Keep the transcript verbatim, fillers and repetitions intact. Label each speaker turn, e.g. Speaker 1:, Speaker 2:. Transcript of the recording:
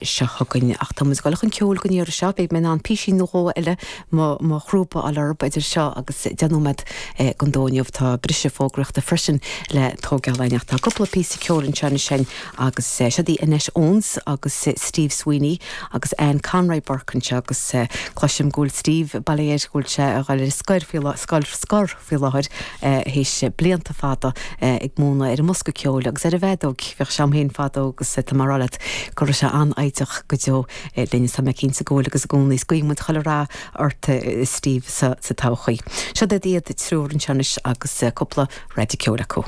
Speaker 1: seo chugainn ach tá muid ag dul chun ceoil don iarraidh seo, beidh mé in ann píosín nó dhó eile mo mo chrúba a fháil oraibh idir seo agus deich nóiméad don dó inniu. Tá briseadh fógraíochta freisin le tógáil againn ach tá cúpla píosa ceoil anseo anois agus seo í Annette Owens agus Steve Sweeney agus Anne Conroy Burke anseo agus cloisim go bhfuil Steve bailithe go bhfuil sé ag dul ar scor faoi scoil scor faoi láthair théis blianta fada ag múineadh ar an mbosca ceoil agus ar an bhfeadóg bheadh sé féin fadó agus tá mar leat go raibh sé an-fhoighdeach go deo linn tá mé cinnte go bhfuil agus i gcónaí guímid chuile rath ort Steve sa sa todhchaí. Seo iad triúr anseo anois agus cúpla rud ceoil acu.